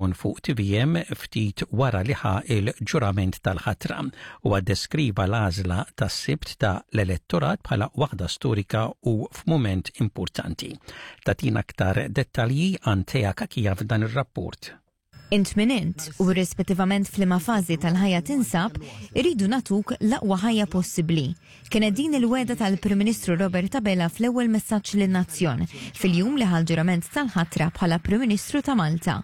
hawn fuq TVM ftit wara li ħa il-ġurament tal-ħatra. Huwa ddeskriva l-għażla tas-Sibt ta' l-elettorat bħala waħda storika u f'mument importanti. Tagħtina aktar dettalji Antea Cachia f'dan ir-rapport. Int min int, u irrispettivament f'liema fażi tal-ħajja tinsab, irridu nagħtuk l-aqwa ħajja possibbli. Kienet din il-wegħda tal-Prim Ministru Robert Abela fl-ewwel messaġġ lin-nazzjon, fil-jum li ħa l-ġurament tal-ħatra bħala Prim Ministru ta' Malta.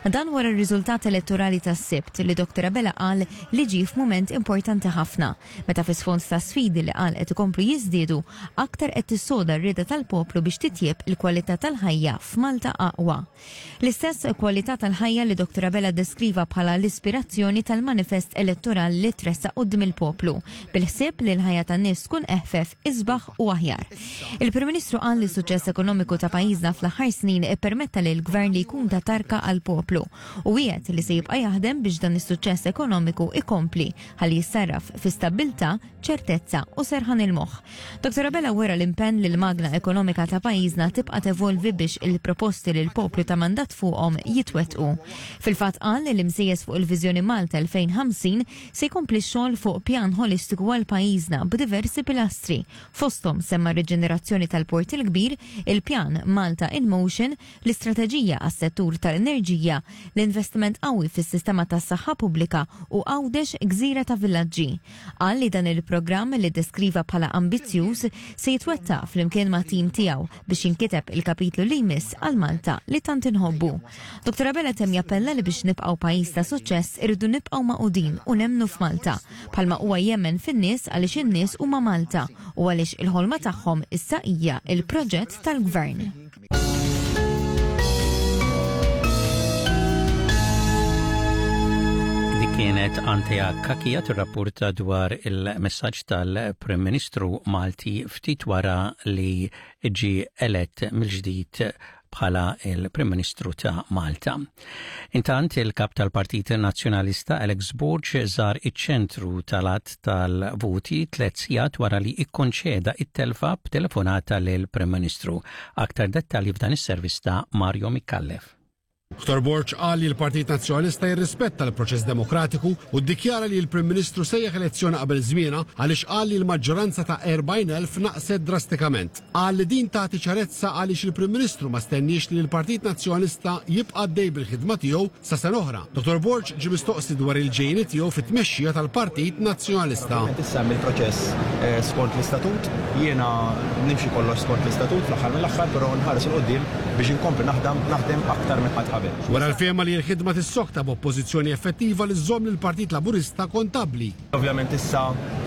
Dan wara r-riżultat elettorali tas-Sibt li Dottor Abela qal li ġie f'mument importanti ħafna, meta fi sfond ta' sfidi li qal qed ikomplu jiżdiedu, aktar qed tissoda r-rieda tal-poplu biex titjieb il-kwalità tal-ħajja f'Malta aqwa. L-istess kwalità tal-ħajja li Dottor Abela ddeskriva bħala l-ispirazzjoni tal-manifest elettorali li tressaq quddiem il-poplu, bil-ħsieb li l-ħajja tan-nies tkun eħfef, isbaħ u aħjar. Il-Prim Ministru qal li s-suċċess ekonomiku ta' pajjiżna fl-aħħar snin ippermetta lill-Gvern li jkun ta' tarka għall-poplu u wiegħed li se jibqa' jaħdem biex dan is-suċċess ekonomiku jkompli ħalli jissarraf fi stabbiltà, ċertezza u serħan il-moħħ. Dottor Abela wera l-impenn li l-magna ekonomika ta' pajjiżna tibqa' tevolvi biex il-proposti li l-poplu ta mandat fuqhom jitwettqu. Fil-fatt qal li msejjes fuq il-Viżjoni Malta 2050 se jkompli x-xogħol fuq pjan ħolistiku għal pajjiżna b'diversi pilastri. Fosthom semma r-riġenerazzjoni tal-Port il-Kbir, il-pjan Malta in Motion, l-istrateġija għas-settur tal-enerġija, l-investiment qawwi fis-sistema tas-saħħa pubblika u Għawdex gżira ta' villaġġi. Qal li dan il-programm li ddeskriva bħala ambizzjuż se jitwettaq flimkien mat-tim tiegħu biex jinkiteb il-kapitlu li jmiss għal Malta li tant inħobbu. Dottor Abela temm jappella li biex nibqgħu pajjiż ta' suċċess irridu nibqgħu magħqudin u nemmnu f'Malta, bħalma huwa jemmen fin-nies għaliex in-nies huma Malta u għaliex il-ħolma tagħhom issa hija l-proġett tal-Gvern. Dik kienet Antea Kakija tirrapporta dwar il-messaġġ tal-Prim Ministru Malti ftit wara li ġie elett mill-ġdid bħala il-Prim Ministru ta' Malta. Intant il-kap tal-Partit Nazzjonalista Alex Borg żar iċ-ċentru tal-għadd tal-voti tlet sigħat wara li ikkonċeda it-telfa b'telefonata lill-Prim Ministru. Aktar dettalji f'dan is-servizz ta' Mario Micallef. Dottor Borg qal li l-Partit Nazzjonalista jirrispetta l-proċess demokratiku u ddikjara li l-Prim Ministru sejjaħ elezzjoni qabel żmienha għaliex qal li l-maġġoranza ta' 40,000 naqset drastikament. Qal li din tagħti ċarezza għaliex il-Prim Ministru ma stenniex li l-Partit Nazzjonalista jibqa' għaddej bil-ħidma tiegħu sa sena oħra. Dottor Borg ġie mistoqsi dwar il-ġejjieni tiegħu fit-tmexxija tal-Partit Nazzjonalista. Ovvjament issa hemm il-proċess skont l-istatut, jiena nimxi kollox skont l-istatut fl-aħħar mill-aħħar, però nħares 'il quddiem biex inkompli naħdam naħdem aktar minn qatt qabel. Wera l-fehma li l-ħidma tissokta b'Oppożizzjoni effettiva li żżomm lill-Partit Laburista kontabbli. Ovvjament issa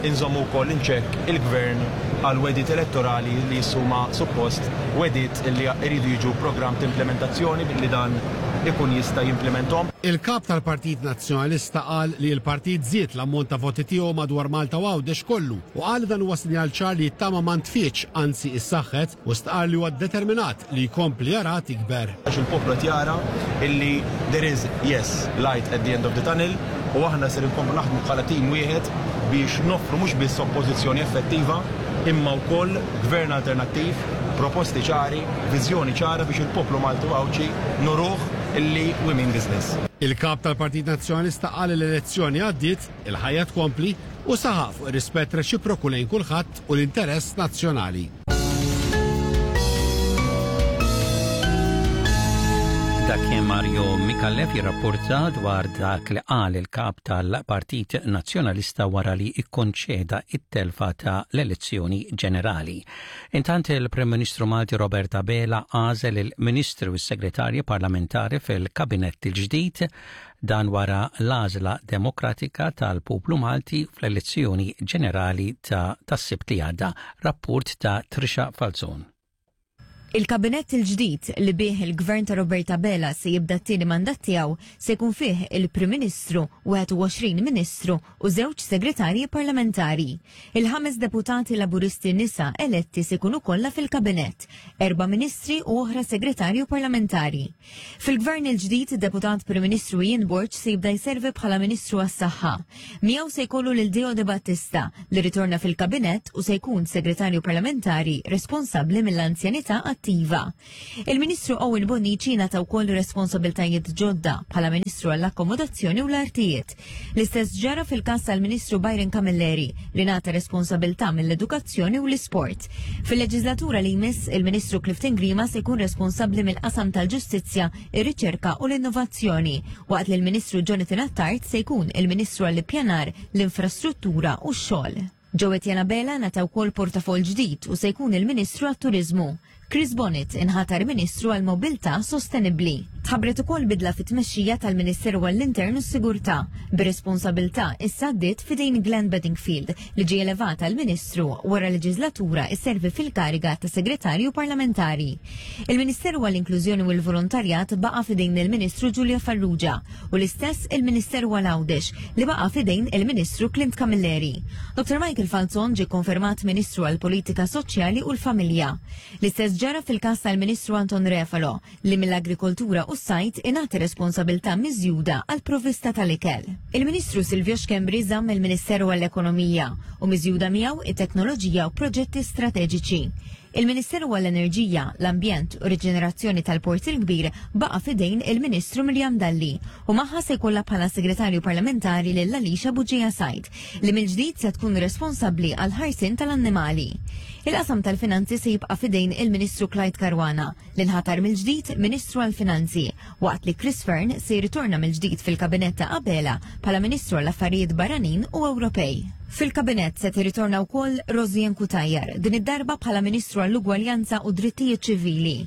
inżommu wkoll in check il-Gvern għal wegħdiet elettorali li huma suppost wegħdiet li jridu jiġu programm t'implementazzjoni billi dan ikun jista' jimplimenthom. Il-Kap tal-Partit Nazzjonalista qal li l-partit żied l-ammont ta' voti tiegħu madwar Malta u Għawdex kollu u qal li dan huwa sinjal ċar li t-tama ma ntfietx anzi issaħħet u stqarr li huwa determinat li jkompli jara tikber. Għax il-poplu qed jara illi there is, yes, light at the end of the tunnel u aħna ser inkomplu naħdmu bħala tim wieħed biex noffru mhux biss oppożizzjoni effettiva imma wkoll gvern alternattiv, proposti ċari, viżjoni ċara biex il-poplu Malti u Għawdxi nuruh illi we mean business. Il-Kap tal-Partit Nazzjonalista qal li l-elezzjoni għaddiet, il-ħajja tkompli u saħaq fuq ir-rispett reċiproku lejn kulħadd u l-interess nazzjonali. Dak kien Mario Micallef jirrapporta dwar dak li qal il-kap tal-Partit Nazzjonalista wara li ikkonċeda it-telfa ta' l-elezzjoni ġenerali. Intant il-Prim Ministru Malti Robert Abela għażel il-Ministri u s-Segretarji Parlamentari fil-Kabinett il-ġdid Dan wara l-għażla demokratika tal-poplu Malti fl-elezzjoni ġenerali ta' tas-Sibt li għadda. Rapport ta' Trisha Falzon. Il-Kabinett il-ġdid li bih il-Gvern ta' Robert Abela se jibda t-tieni mandat tiegħu se jkun fih il-Prim Ministru, 21 Ministru u żewġ Segretarji Parlamentari. Il-ħames deputati Laburisti nisa eletti se jkunu kollha fil-Kabinett, erba' Ministri u oħra Segretarju Parlamentari. Fil-Gvern il-ġdid, id-Deputat Prim Ministru Ian Borg se jibda jservi bħala Ministru għas-Saħħa. Miegħu se jkollu lil Deo De Battista li ritorna fil-Kabinett u se jkun Segretarju Parlamentari responsabbli mill-Anzjanità attiva. attiva. Il-Ministru Owen Bonnici ngħata wkoll responsabiltajiet ġodda bħala Ministru għall-Akkomodazzjoni u l-Artijiet. L-istess ġara fil-każ tal-Ministru Byron Camilleri li ngħata responsabilità mill-Edukazzjoni u l-Isport. Fil-leġislatura li jmiss, il-Ministru Clifton Grima se jkun responsabbli mill-qasam tal-Ġustizzja, ir-Riċerka u l-Innovazzjoni, waqt li l-Ministru Jonathan Attard se jkun il-Ministru għall-Ippjanar, l-Infrastruttura u x-Xogħol. Joe Etienne Abela ngħata wkoll portafoll ġdid u se jkun il-Ministru għat-Turiżmu. Chris Bonett inħatar Ministru għall-Mobilità Sostenibbli. Tħabbret ukoll bidla fit-tmexxija tal-Ministeru għall-Intern u s-Sigurtà, bir-responsabilità issa għaddiet f'idejn Glenn Bedingfield li ġie elevat għal Ministru wara leġislatura isservi fil-kariga ta' Segretarju Parlamentari. Il-Ministeru għall-Inklużjoni u l-Volontarjat baqa' f'idejn il-Ministru Julia Farrugia u l-istess il-Ministeru għal Għawdex li baqa' f'idejn il-Ministru Clint Camilleri. Dr. Michael Falzon ġie konfermat Ministru għall-Politika Soċjali u l-Familja. L-istess ġara fil-każ tal-Ministru Anton Refalo li mill-Agrikoltura u s-Sajd ingħata responsabilità miżjuda għall-provvista tal-ikel. Il-Ministru Silvio Schembri żamm il-Ministeru għall-Ekonomija u miżjuda miegħu it-Teknoloġija u Proġetti Strateġiċi. Il-Ministeru għall-Enerġija, l-Ambjent u Riġenerazzjoni tal-Port il-Kbir baqa' f'idejn il-Ministru Miriam Dalli u magħha se jkollha bħala Segretarju Parlamentari lil Alicia Bugeja Said li mill-ġdid se tkun responsabbli għall-ħarsien tal-annimali. Il-qasam tal-Finanzi se jibqa' f'idejn il-Ministru Clyde Caruana li nħatar mill-ġdid Ministru għall-Finanzi waqt li Chris Fearne se jirritorna mill-ġdid fil-Kabinett ta' Abela bħala Ministru għall-Affarijiet Barranin u Ewropej. Fil-Kabinett se tirritorna wkoll Rosianne Cutajar, din id-darba bħala Ministru għall-Ugwaljanza u Drittijiet Ċivili.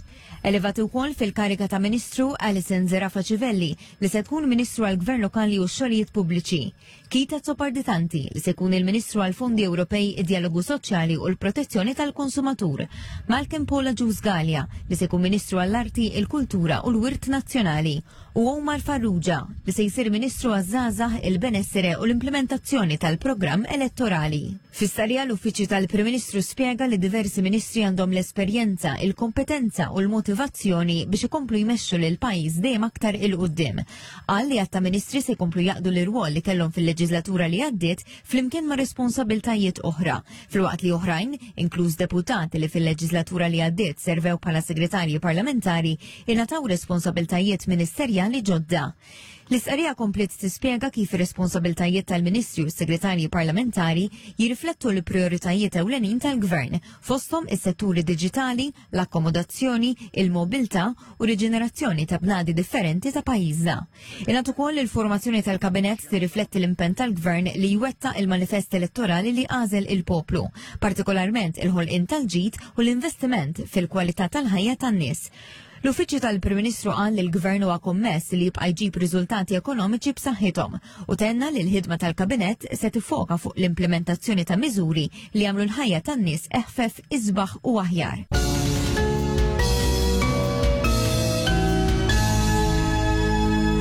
Elevati wkoll fil-kariga ta' Ministru Alison Zerafa Civelli li se tkun Ministru għall-Gvern Lokali u x-Xogħlijiet Pubbliċi. Keith Azzopardi Tanti li se jkun il-Ministru għall-Fondi Ewropej, id-Djalogu Soċjali u l-Protezzjoni tal-Konsumatur. Malcolm Paul Agius Galea li se jkun Ministru għall-Arti, il-Kultura u l-Wirt Nazzjonali u Omar Farrugia li se jsir Ministru għaż-Żgħażagħ, il-Benessere u l-Implementazzjoni tal-Programm Elettorali. Fi stqarrija l-Uffiċċju tal-Prim Ministru spjega li diversi ministri għandhom l-esperjenza, il-kompetenza u l-motivazzjoni biex ikomplu jmexxu lill-pajjiż dejjem aktar 'il quddiem. Qal li għadd ta' ministri se jkomplu jaqdu l-irwol li kellhom fil-leġislatura li għaddiet flimkien ma' responsabiltajiet oħra, filwaqt li oħrajn, inkluż deputati li fil-leġislatura li għaddiet servew bħala segretarji parlamentari, ingħataw responsabiltajiet ministerjali ġodda. L-istqarrija kompliet tispjega kif ir-responsabiltajiet tal-Ministri u s-Segretarji Parlamentari jirriflettu l-prijoritajiet ewlenin tal-Gvern, fosthom is-setturi diġitali, l-akkomodazzjoni, il-mobilità u riġenerazzjoni ta' bnadi differenti ta' pajjiżna. Ingħad ukoll li l-formazzjoni tal-Kabinett tirrifletti l-impenn tal-Gvern li jwettaq il-manifest elettorali li għażel il-poplu, partikolarment il-ħolqien tal-ġid u l-investiment fil-kwalità tal-ħajja tan-nies. L-Uffiċċju tal-Prim Ministru qal li l-Gvern huwa kommess li jibqa' jġib riżultati ekonomiċi b'saħħithom u tenna li l-ħidma tal-Kabinett se tiffoka fuq l-implementazzjoni ta' miżuri li jagħmlu l-ħajja tan-nies eħfef, isbaħ u aħjar.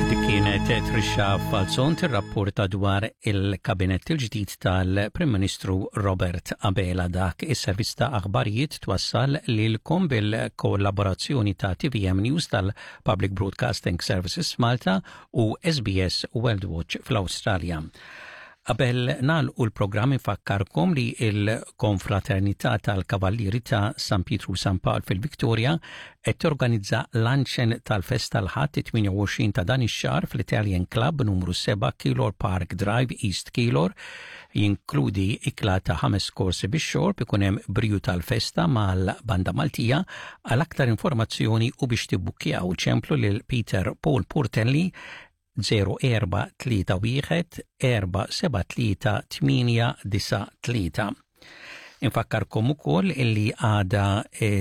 Dik kienet Trisha Falzon tirrapporta dwar il-kabinett il-ġdid tal-Prim Ministru Robert Abela. Dak is-servizz ta' aħbarijiet twassal lilkom bil-kollaborazzjoni ta' TVM News tal-Public Broadcasting Services Malta u SBS World Watch fl-Awstralja. Qabel nagħlqu l-programm infakkarkom li l-Konfraternità tal-Kavallieri ta' San Pietru San Pawl fil-Victoria qed torganizza luncheon tal-festa l-Ħadd 28 ta' dan ix-xahar fl-Italian Club numru 7 Keilor Park Drive East Keilor. Jinkludi ikla ta' ħames korsi bix-xorb, ikun hemm briju tal-festa mal-Banda Maltija. Għal aktar informazzjoni u biex tibbukkjaw ċemplu lil Peter Paul Portelli 0431 473 893. Infakkarkom ukoll illi għada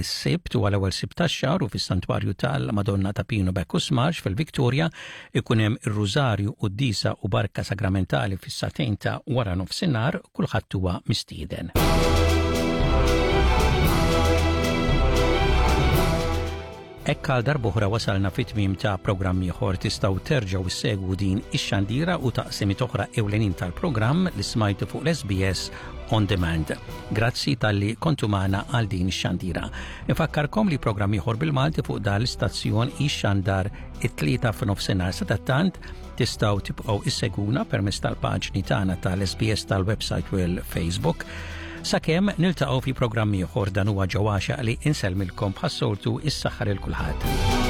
s-Sibt huwa l-ewwel Sibt tax-xahar u fis-Santwarju tal-Madonna ta' Pino Bacchus Marx fil-Victoria ikun hemm ir-Rużarju, Quddiesa u Barka Sagramentali fis-sagħtejn ta' wara nofsinhar, kulħadd huwa mistieden. Hekk għal darb'oħra wasalna fit-tmiem ta' programm ieħor. Tistgħu terġgħu ssegwu din ix-xandira u taqsimiet oħra ewlenin tal-programm li smajtu fuq l-SBS On Demand. Grazzi talli kontu magħna għal din ix-xandira. Infakkarkom li programm ieħor bil-Malti fuq dan l-istazzjon jixxandar it-tlieta f'nofsinhar. Sadattant tistgħu tibqgħu issegwuna permezz tal-paġni tagħna tal-SBS tal-website u l-Facebook. Sakemm niltaqgħu fi programm ieħor dan huwa ġewwaxa li insellmilkom bħas-soltu is-saħħa lil kulħadd.